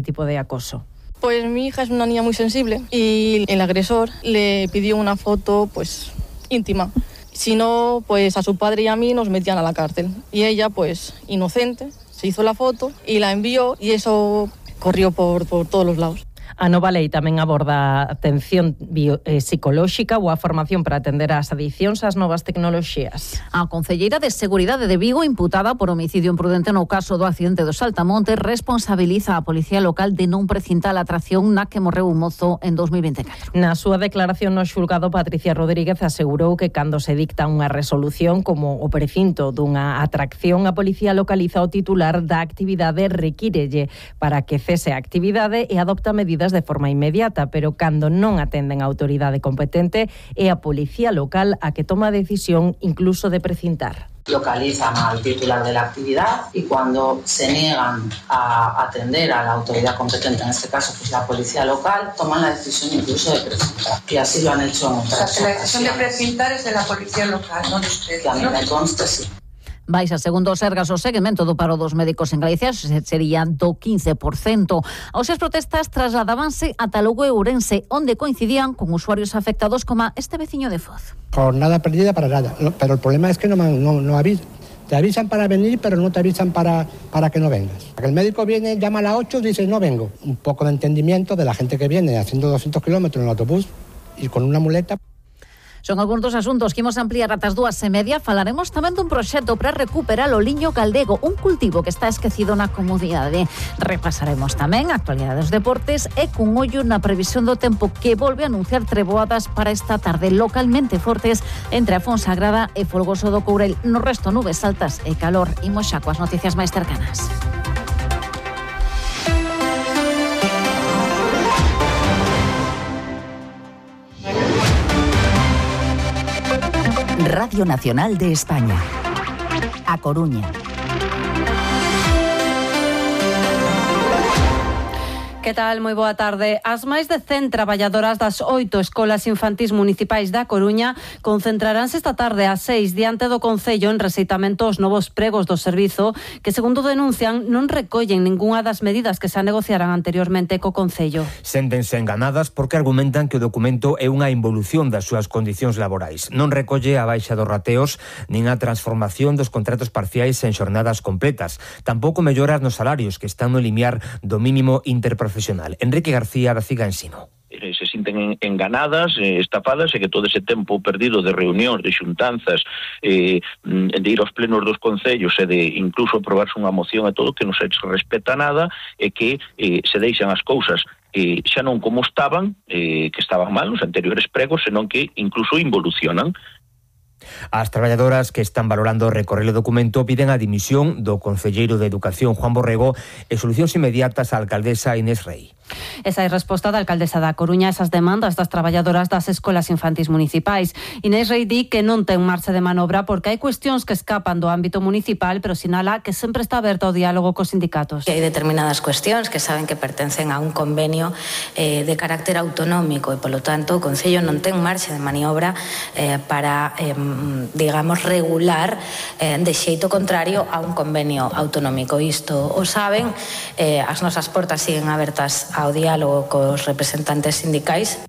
este tipo de acoso? Pues mi hija es una niña muy sensible y el agresor le pidió una foto pues íntima. Si no, pues a su padre y a mí nos metían a la cárcel. Y ella, pues inocente, se hizo la foto y la envió y eso corrió por todos los lados. A nova lei tamén aborda atención psicolóxica ou a formación para atender ás adiccións ás novas tecnoloxías. A concelleira de Seguridade de Vigo, imputada por homicidio imprudente no caso do accidente do Saltamonte, responsabiliza a Policía Local de non precintar a atracción na que morreu un mozo en 2024. Na súa declaración no xulgado, Patricia Rodríguez asegurou que cando se dicta unha resolución como o precinto dunha atracción, a Policía localiza o titular da actividade, requírelle para que cese a actividade e adopta medidas de forma inmediata, pero cando non atenden a autoridade competente é a Policía Local a que toma a decisión incluso de precintar. Localizan al titular de la actividad y cuando se niegan a atender a la autoridad competente, en este caso pues la policía local, toman la decisión incluso de precintar. Y así lo han hecho en otras ocasiones. La decisión de precintar es de la policía local, no de ustedes. Que a mí me consta, sí. Baixa, segundo o Sergas, o seguimento do paro dos médicos en Galicia sería do 15%. As protestas trasladábanse ata Lugo e Ourense, onde coincidían con usuarios afectados como este veciño de Foz. Jornada perdida para nada, pero el problema es que no avisan. Te avisan para venir, pero no te avisan para que no vengas. El médico viene, llama a las 8 y dice no vengo. Un poco de entendimiento de la gente que viene haciendo 200 kilómetros en el autobús y con una muleta. Son algúns dos asuntos que imos ampliar ata as 2:30. Falaremos tamén dun proxecto para recuperar o liño galdego, un cultivo que está esquecido na comunidade. Repasaremos tamén a actualidade dos deportes e cun ollo na previsión do tempo, que volve a anunciar treboadas para esta tarde localmente fortes entre a Fonsagrada e Folgoso do Courel. No resto, nubes altas e calor. Imos xa coas noticias máis cercanas. Radio Nacional de España. A Coruña. Que tal? Moi boa tarde. As máis de 100 traballadoras das 8 escolas infantís municipais da Coruña concentraránse esta tarde ás 6 diante do Concello en rexeitamento aos novos pregos do servizo que, segundo denuncian, non recollen ningunha das medidas que se negociaran anteriormente co Concello. Séntense enganadas porque argumentan que o documento é unha involución das súas condicións laborais. Non recolle a baixa dos rateos nin a transformación dos contratos parciais en xornadas completas. Tampouco melloras nos salarios que están no limiar do mínimo interprofesional. Enrique García, da Ciga Ensino. Se sinten enganadas, estafadas, e que todo ese tempo perdido de reunións, de xuntanzas, de ir aos plenos dos concellos e de incluso aprobarse unha moción e todo, que non se respeta nada, e que se deixan as cousas xa non como estaban, que estaban mal nos anteriores pregos, senón que incluso involucionan. As traballadoras que están valorando recorrer o documento piden a dimisión do concelleiro de Educación, Juan Borrego, e solucións inmediatas á alcaldesa Inés Rei. Esa é a resposta da alcaldesa da Coruña a esas demandas das traballadoras das escolas infantís municipais. Inés Rei di que non ten marxa de manobra porque hai cuestións que escapan do ámbito municipal, pero sinala que sempre está aberta ao diálogo cos sindicatos. Hai determinadas cuestións que saben que pertencen a un convenio de carácter autonómico e, polo tanto, o Concello non ten marxa de maniobra para, digamos, regular de xeito contrario a un convenio autonómico. Isto o saben, as nosas portas siguen abertas ao diálogo cos representantes sindicais.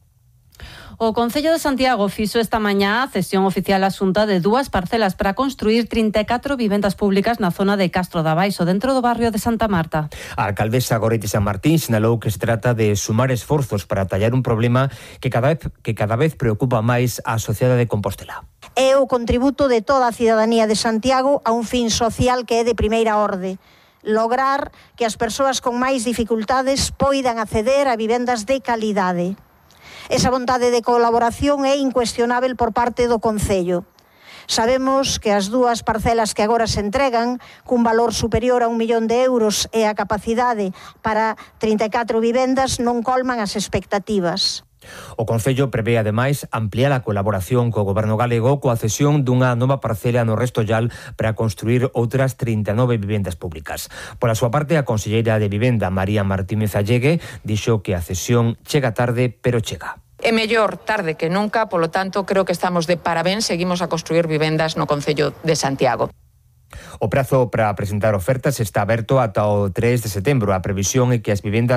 O Concello de Santiago fixo esta mañá a cesión oficial á Xunta de 2 parcelas para construir 34 vivendas públicas na zona de Castro da Baixo, dentro do barrio de Santa Marta. A alcaldesa Goretti San Martín sinalou que se trata de sumar esforzos para atallar un problema que cada vez preocupa máis a sociedade de Compostela. É o contributo de toda a cidadanía de Santiago a un fin social que é de primeira orde. Lograr que as persoas con máis dificultades poidan acceder a vivendas de calidade. Esa vontade de colaboración é incuestionável por parte do Concello. Sabemos que as 2 parcelas que agora se entregan, cun valor superior a 1 millón de euros e a capacidade para 34 vivendas, non colman as expectativas. O Concello prevé, ademais, ampliar a colaboración co Goberno galego coa cesión dunha nova parcela no Restollal para construir outras 39 vivendas públicas. Pola súa parte, a conselleira de Vivenda, María Martínez Allegue, dixo que a cesión chega tarde, pero chega. É mellor tarde que nunca, polo tanto, creo que estamos de parabéns, seguimos a construir vivendas no Concello de Santiago. O prazo para presentar ofertas está aberto ata o 3 de setembro. A previsión é que as vivendas